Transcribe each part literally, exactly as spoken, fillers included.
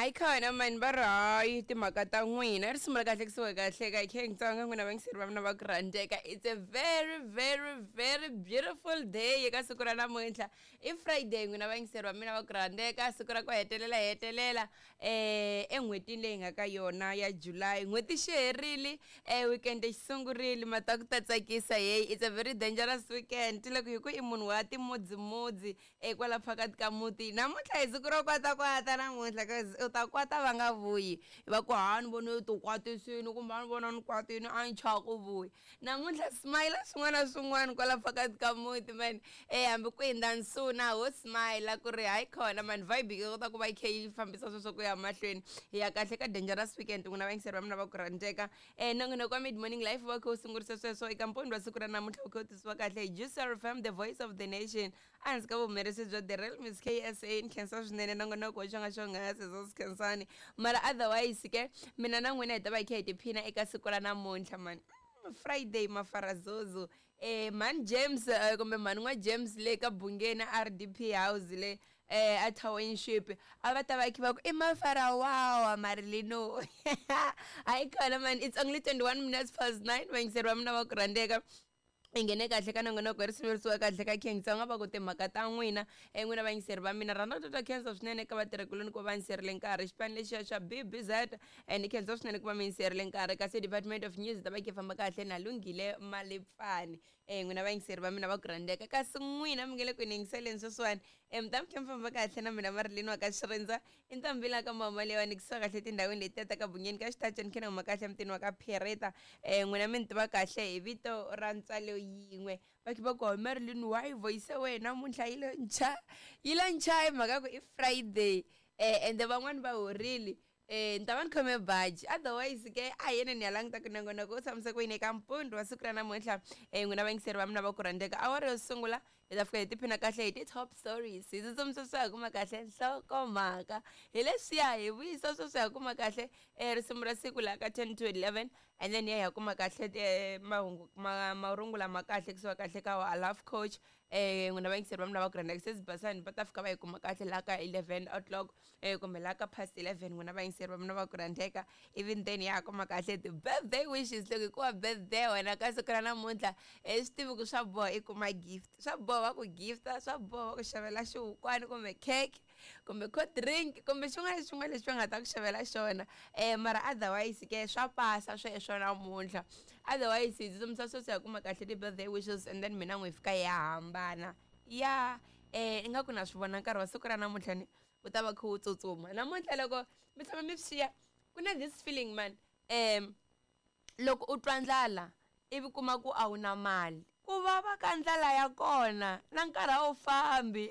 Hayi khona mani va ri hayi timhaka ta n'wina ri sungula kahle kusuka kahle ka khe Xitsonga n'wina vayingiseri va mina va ku rhandzeka. It's a very very very beautiful day eka siku ra namuntlha. I Friday n'wina vayingiseri va mina va ku rhandzeka, siku ra ku hetelela hetelela eh en'hwetini leyi nga ka yona ya July. N'hweti xi herile, eh weekend xi sungurile, mata ku ta tsakisa hey. It's a very dangerous weekend loko hi ku i munhu wa timudzimudzi eh kwala phakathi ka muti. Namuntlha hi siku ro kwatakwata namuntlha, cause u ta kwata va nga vuyi, va ku ha ni vone u ti kwatisini kumbe a ni vona ni kwatini a ni chava ku vuya. Namuntlha smile swin'wana na swin'wana kwala phakathi ka muti man, eh hambi ku hindza nsuna ho smile ku ri hayi khona man, vibe yi kota ku va yi kha yi fambisa sweswo ku ya mahlweni. Hi ya kahle ka dangerous weekend n'wina vayingiseri va mina va ku rhandzeka. eh nongonoko wa Mid Morning Life va kha wu sungurisa sweswo eka mpundzu wa siku ra namuntlha, wu kha wu tisiwa kahle hi Juice F M, the voice of the nation, ehansi ka vuhumelerisi bya the real Miss K S A. Ni khensa swinene nongonoko wa xonga xonghasi swo swi khensani, mara otherwise ke mina na n'wina hi ta va hi kha hi tiphina eka siku ra namuntlha man. Friday mafarazozo eh man James eh, kumbe mhani n'wa James le ka Bungeni R D P house le eh a township a va ta va kha va ku i mafarawawa Marilino. Hayi khona man, it's only twenty-one minutes past nine vayingiseri va mina va ku rhandzeka. I nghene kahle ka nongonoko ri sungurisiwa kahle ka King Tsonga va ku timhaka ta n'wina e n'wina vayingiseri va mina rhandza ku twa khensa swinene eka vatirhikuloni ku va yingiserile nkarhi xipano lexiya xa B B Z and khensa swinene ku va mi yingiserile nkarhi. Kasi Department of News ta va ki famba kahle na Lunghile Malipfani e n'wina vayingiseri va mina va ku rhandzeka. Kasi n'wina mi nge le ku yingiseleni sweswiwani e mi ta mi kha mi famba kahle na mina Marilyn wa ka Xirindza i ntombi la ka mama leyiwani kusuka kahle tindhawini leti ta ka Bungeni ka Xitachani khe na huma kahle mutini wa ka Phereta. E n'wina mi ni tiva kahle hi vito ra ntswalo yin'we va kha va ku Marilyn why voice wena namuntlha yi lo ncha yi lo ncha hi mhaka ku i Friday eh ende van'wani va horile eh ni ta va ni khome baji otherwise ke a hi yena ni ya languta ku nongonoko u tshamise ku yini eka mpundzu wa siku ra namuntlha. Eh n'wina vayingiseri va mina va ku rhandzeka, awara yo sungula hi ta fika hi tiphina kahle hi ti-top stories, hi tsutsumisa swi ya kuma kahle nhlokomhaka hi leswiya hi vuyisa sweswi ya kuma kahle eh risimu ra siku laha ka ten to eleven and then ya ya kuma kahle eh mahungu ma marungula ma kahle kusuka kahle ka wa Love Coach. Eh n'wina vayingiseri va mina va ku rhandzeka sesi Basani va ta fika va yi kuma kahle laha ka eleven o'clock eh kumbe laha ka past eleven n'wina vayingiseri va mina va ku rhandzeka. Even then ya kuma kahle ti-birthday wishes loko hikuva birthday wena ka siku ra namuntlha eh swi tivi ku swa boha i kuma gift, swa boha va ku gifta, swa boha va ku xavela xihukwani kumbe cake kumbe cold drink kumbe xin'wana na xin'wana lexi va nga ta ku xavela xona eh mara otherwise ke swa pasa sweswo namuntlha. Otherwise hi tsutsumisa sweswo ya kuma kahle ti-birthday wishes and then mina n'wi fika ya hambana ya eh ingaku na swi vona nkarhi wa siku ra namuntlha ni wu ta va kha wu tsutsuma namuntlha. Loko mi tshama mi swi xiya ku na this feeling man, um loko u twa ndlala ivi kuma ku a wu na mali, ku vava ka ndlala ya kona na nkarhi a wu fambi.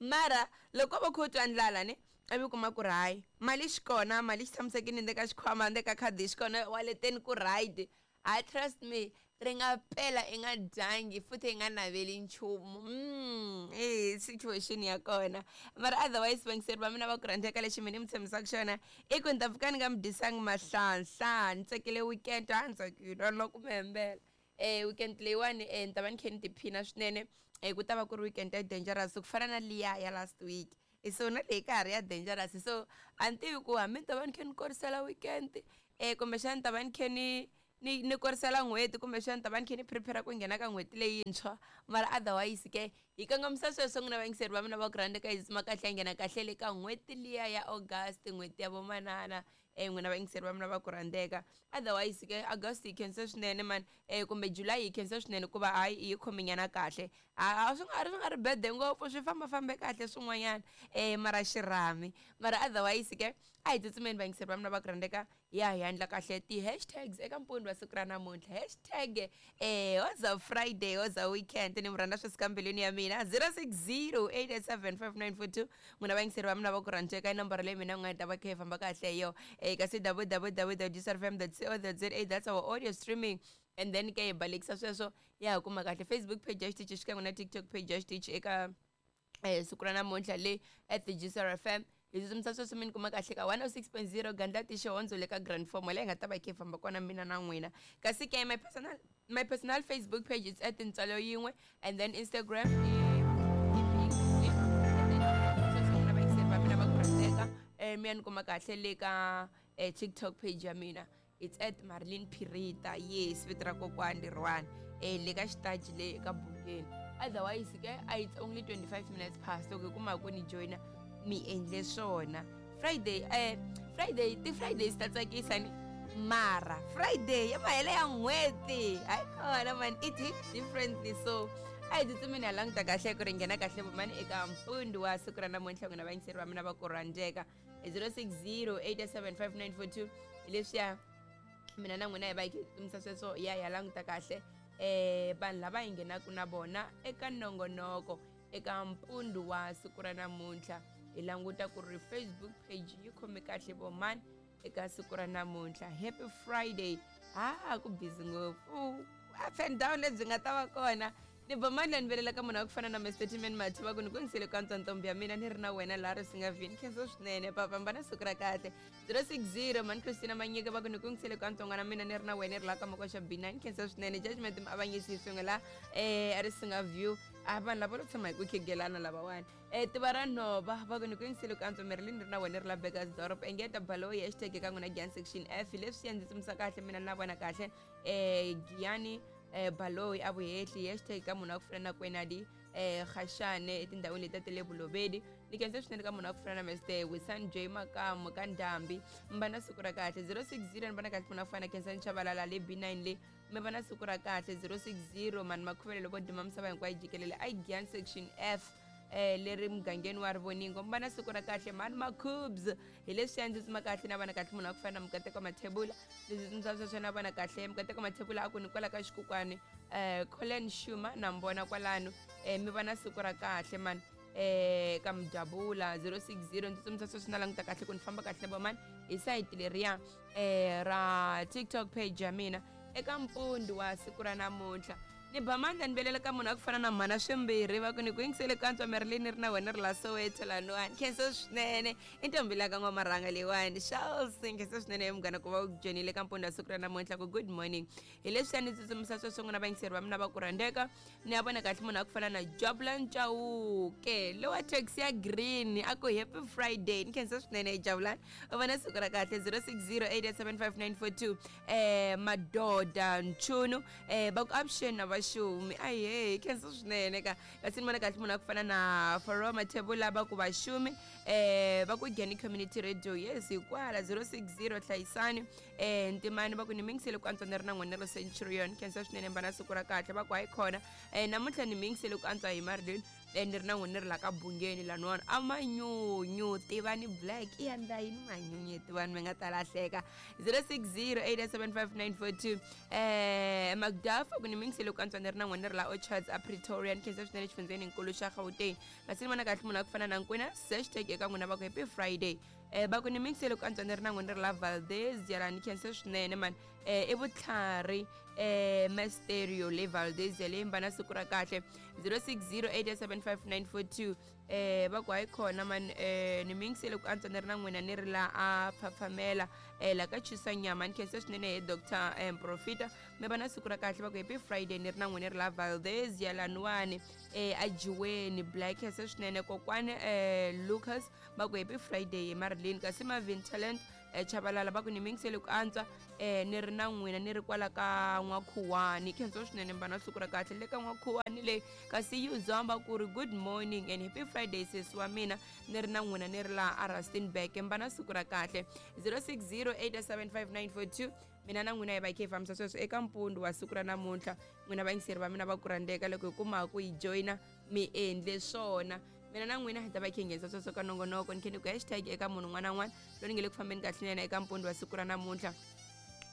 Mara loko va kha u twa ndlala ni ivi kuma ku ri hayi mali xi kona, mali xi tshamisekile ndzeni ka xikhwama ndzeni ka khadi xi kona waleteni ku right, I trust me ri nga pela i nga dyangi futhi i nga naveli nchumu. Mm, eh situation ya kona. Mara otherwise vayingiseri va mina va ku rhandzeka, lexi mina ni mi tshembisaka xona i ku ni ta pfuka ni nga mi dyisangi mahlanhla, ni tsakile weekend a ni tsakile loko mi hembela. Eh weekend leyiwani eh ni ta va ni kha ni tiphina swinene eh ku ta va ku ri weekend ya dangerous ku fana na liya ya last week. So na leyi ka ha ri ya dangerous, so a ni tivi ku hambi ni ta va ni kha ni korisela weekend eh kumbexana ni ta va ni kha ni ni ni korisela n'hweti kumbexana ni ta va ni kha ni prepare ku nghena ka n'hweti leyintshwa. Mara otherwise ke hi kongomisa sweswo n'wina vayingiseri va mina va ku rhandza ka hi tsutsuma kahle hi nghena kahle le ka n'hweti liya ya August, n'hweti ya vomanana eh n'wina vayingiseri va mina va ku rhandzeka. Otherwise ke August yi khensa swinene man eh kumbe July yi khensa swinene ku va hayi yi khominyana kahle, a swi nga ri swi nga ri bad ngopfu, swi famba fambe kahle swin'wanyana eh mara xirhami. Mara otherwise ke a hi tsutsumeni vayingiseri va mina va ku rhandzeka, ya hi endla kahle ti-hashtags eka mpundzu wa siku ra namuntlha. Hashtag eh hoza Friday hoza weekend ni mi rhandza sweswi ka mbilwini ya mina zero six zero eight eight seven five nine four two n'wina vayingiseri va mina va ku rhandzeka i nomboro leyi mina n'wi nga ta va kha yi famba kahle hi yo eh kasi w w w dot juice f m dot co dot z a, that's our audio streaming. And then ke hi balekisa sweswo ya ha kuma kahle Facebook page ya xitichi xikan'we na TikTok page ya xitichi eka eh siku ra namuntlha le at the Juice F M. Hi tsutsumisa sweswo mi ni kuma kahle ka one oh six point zero Gandlati Xihondzo le ka Grand Form leyi nga ta va yi kha yi famba kona mina na n'wina. Kasi ke my personal my personal Facebook page is at Ntswalo Yin'we and then Instagram i and then sweswo n'wina vayingiseri va mina va ku rhandzeka. mi ya ni kuma kahle le ka eh, TikTok page ya mina, it's at Marilyn Pirita. Yes, vito ra kokwani leriwani eh le ka xitaji le ka Bungeni. Otherwise ke it's only twenty-five minutes past. Loko hi kuma ku ni joina mi endle swona. Friday eh Friday ti Fridays ta tsakisa ni mara Friday ya mahele ya n'hweti hayi kona man, it hits differently. So a hi tsutsumeni ha languta kahle ku ri nghena kahle vomani eka mpfundzu wa siku ra namuntlha. N'wina vayingiseri va mina va ku rhandzeka, zero six zero eight seven five nine four two hi leswiya mina na n'wina hi va hi kha hi tsutsumisa sweswo ya ya languta kahle eh vanhu lava hi nghenaka na vona eka nongonoko eka mpfundzu wa siku ra namuntlha. Hi languta ku ri Facebook page yi khome kahle vomani eka siku ra namuntlha. Happy Friday. Ha ku busy ngopfu, up and down lebyi nga ta va kona. Ni bomani la ni velela ka munhu wa ku fana na Mister Timen Mathiva ku ni ku ngisele ka ntombi ya mina ni ri na wena laha ri swi nga vini. Khensa swinene papa, mbana siku ra kahle. zero six zero mani Christina Manyika va ku ni ku ngisele ka ntsongwana mina ni ri na wena ri la ka Makoxa B nine. Khensa swinene judgment avanyisi swin'we la eh a ri singa view. A vanhu lava lo tshama hi ku khigelana lavawani. Eh tiva ra nhova va ku ni ku ngisele ka ntswa Marilyn ri na wena ri la Bekkersdorp. Engeta Baloyi hashtag ka n'wina Giyani section F leswi ya ndzi tsumisa kahle mina na vona kahle eh Giyani eh Baloyi a vuhehli hashtag ka munhu wa ku fana na Kwenadi eh Khashane etindhawini leti ta le Vulobedi. Ni khensa swinene ka munhu wa ku fana na Mister Wisan J Makamu ka Ndhambi. Mbana siku ra kahle zero six zero ni vona kahle munhu wa ku fana na Khensani Chabalala le B nine le mi vona siku ra kahle zero six zero mani makhuvele loko duma misava hinkwayo jikelele a Giyani section F eh leri mugangeni wa Rivoningo. Mbana siku ra kahle mani Makhubs hi leswi ya ndzi tsuma kahle na vona kahle munhu wa ku fana na Mukateko Mathebula. Leswi tsundzuxa sweswo na vona kahle Mukateko Mathebula a ku ni kwala ka xikukwani eh Colin Shuma na mbona kwalano eh mi vona siku ra kahle mani eh ka Mdabula zero six zero ndzi tsundzuxa sweswo na languta kahle ku ni famba kahle va mani hi site leriya eh ra TikTok page ya mina eka mpfundzu wa siku ra namuntlha. Ni ba mandla ni velela ka munhu wa ku fana na mhana swimbirhi va ku ni ku yingisele ka ntswa Marilyn ri na wena ri la Soweto laniwani. Khensa swinene i ntombi la ka n'wamarhanga leyiwani Charles. Khensa swinene munghana ku va u joinile ka mpfundzu wa siku ra namuntlha ku good morning. Hi leswi a ni tsutsumisa sweswo n'wina vayingiseri va mina va ku rhandzeka. Ni ya vona kahle munhu wa ku fana na Jabulani Chauke lowa taxi ya green a ku happy Friday. Ni khensa swinene Jabulani, u vona siku ra kahle zero six zero eight seven five nine four two eh Madoda Nchunu eh va ku option na vaxumi. Ahe khensa swinene ka kasi ni vona kahle munhu wa ku fana na Faro Mathebula va ku vaxumi eh va ku Giyani Community Radio. Yes hikwala zero six zero Hlayisani eh Ntimani va ku ni mingisele ku antswa ni ri na n'wina ro Centurion. Khensa swinene mbana siku ra kahle va ku hayi khona eh namuntlha ni mingisele ku antswa hi Marilyn eh ni ri na n'wina ri la ka Bungeni laniwani a manyunyu Tivani Black i endla yini manyunyu Tivani mi nga ta lahleka zero six zero eight seven five nine four two eh Macduff ku ni mingisele ku antswa ni ri na n'wina ri la Orchards a Pretoria. Ni khensa swinene xifundzeni nkulu xa Gauteng. Kasi ni vona kahle munhu wa ku fana na Nkwena hashtag eka n'wina va ku happy Friday eh va ku ni mingisele ku antswa ni ri na n'wina ri la Valdez yala. Ni khensa swinene man eh i vutlhari eh Masterio le Valdez le mbana siku ra kahle zero six zero eight seven five nine four two eh va ku hayi khona man eh ni mingisele ku antswa ni ri na n'wina ni ri la a Phaphamela eh la ka Chisa Nyama. Ni khensa swinene hi Doctor eh, Profita mi va na siku ra kahle va ku happy Friday ni ri na n'wina ri la Valdez ya laniwani eh ajiweni Black. Khensa swinene kokwani eh Lucas va ku happy Friday hi Marilyn. Kasi Marvin Talent eh Chabalala va ku ni mingisele ku antswa eh ni ri na n'wina ni ri kwala ka N'wakhuwani. Khensa swinene mbana siku ra kahle le ka N'wakhuwani le. Kasi Yuzamba ku ri good morning and happy Friday sesi wa mina ni ri na n'wina ni ri la a Rustenburg. Mbana siku ra kahle zero six zero eight seven five nine four two mina na n'wina hi va hi kha hi fambisa sweswo eka mpfundzu wa siku ra namuntlha. N'wina vayingiseri va mina va ku rhandzeka loko hi kuma ku hi joyina mi endle swona. Mina na n'wina hi ta va hi kha hi nghenisa sweswo ka nongonoko. Ni khe ni ku hashtag eka munhu un'wana na un'wana loyi ni nge le ku fambeni kahle na yena eka mpfundzu wa siku ra namuntlha.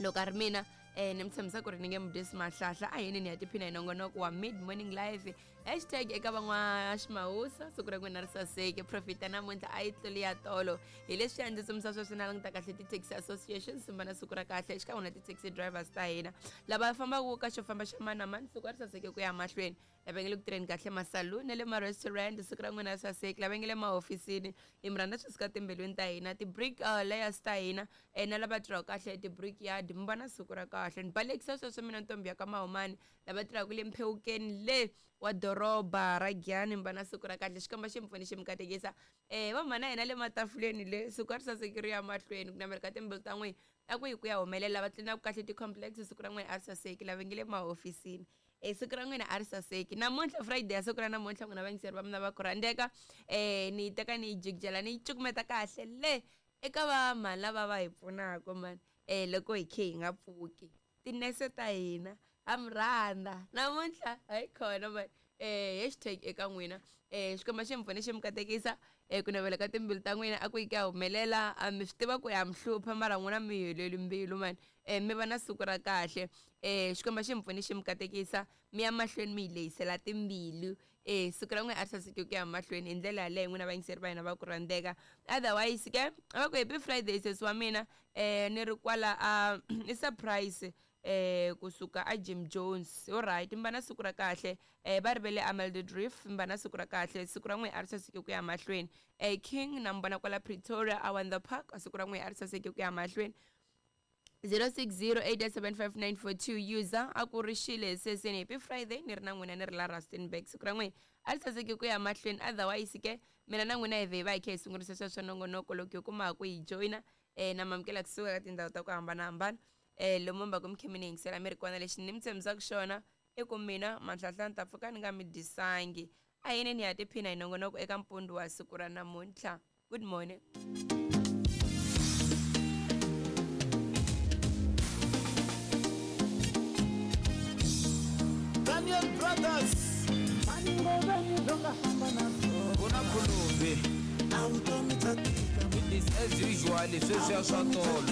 Loko a ri mina eh ni mi tshembisa ku ri ni nge mi dyisi mahlahla a yini ni ya tiphina hi nongonoko wa mid morning live. Hashtag eka van'wa Ximawusa siku ra n'wina ri saseke. Profita namuntlha a yi tluli ya tolo hi leswi ya ndzi tsundzuxa sweswo na languta kahle ti-taxi association simbana siku ra kahle xikan'we na ti-taxi drivers ta hina lava fambaka ka xo famba xa mani na mani siku ri saseke ku ya mahlweni. Lava nge le ku tirheni kahle masaluni na le ma-restaurant siku ra n'wina ri saseke. Lava nge le mahofisini hi mi rhandza swi suka timbilwini ta hina ti-brick uh, layers ta hina eh, na lava tirhaka kahle ti-brick yard mi vona siku ra kahle. Ni balekisa sweswo mina ntombi ya ka Mahumani lava tirhaka le Mphewukeni le wa doroba ra Giyani mba na siku ra kahle xikomba xi mi pfuni xi mi katekisa um va mhana hina le matafuleni le siku a ri saseki ri ya mahlweni ku navela ka timbilu ta n'wina a ku yi ku ya humelela va tlinaku kahle ti-complex siku ra n'wina a ri saseki lava nge le mahofisini e siku ra n'wina a ri saseki namuntlha friday ya siku ra namuntlha n'wina vayingiseri va mina va ku rhandzeka um ni yi teka ni yi jikijela ni yi cukumeta kahle le eka va mhani lava va hi pfunaka mani um loko hi khe hi nga pfuki tinese ta hina ha mi rhandza namuntlha hayi khona mani um hashtag eka n'wina um xikwembu xi mi pfune xi mi katekisa um ku navela ka timbilu ta n'wina a ku yi ku ya humelela a mi swi tiva ku ya mi hlupha mara n'wina mi heleli mbilu mani um mi va na siku ra kahle um xikwembu xi mi pfune xi mi katekisa mi ya mahlweni mi yi lehisela timbilu e siku ra n'wina a ri saseki ku ya mahlweni hi ndlela yaleyo n'wina vayingiseri va hina va ku rhandzeka otherwise ke a va ku happy friday sesi wa mina um ni ri kwala a i surprise eh kusuka a Jim Jones alright mba na siku ra kahle eh va rivele Amalde Drift mba na siku ra kahle siku ra n'wina a ri saseki ku ya mahlweni eh King na mbona kwala Pretoria a Wonder Park siku ra n'wina a ri saseki ku ya mahlweni zero six zero eight seven five nine four two user a ku ri xile seseni happy friday ni ri na n'wina ni ri la Rustenburg siku ra n'wina a ri saseki ku ya mahlweni otherwise ke mina na n'wina hi vhe hi va hi kha hi sungurisa sweswo nongonoko loko hi kuma ku hi joyina eh na mamukela kusuka ka tindhawu ta ku hambanahambana eh lomu mba ku mi khe mi ni yingisela mi ri kona lexi ni mi tshembisaka xona i ku mina manhlanhla ni ta pfuka ni nga mi dyisangi a yini ni ya tiphina hi nongonoko eka mpundzu wa siku ra namuntlha good morning. Daniel Brothers Kuna Khulumbi. It is as usual, sweswiya swa tolo.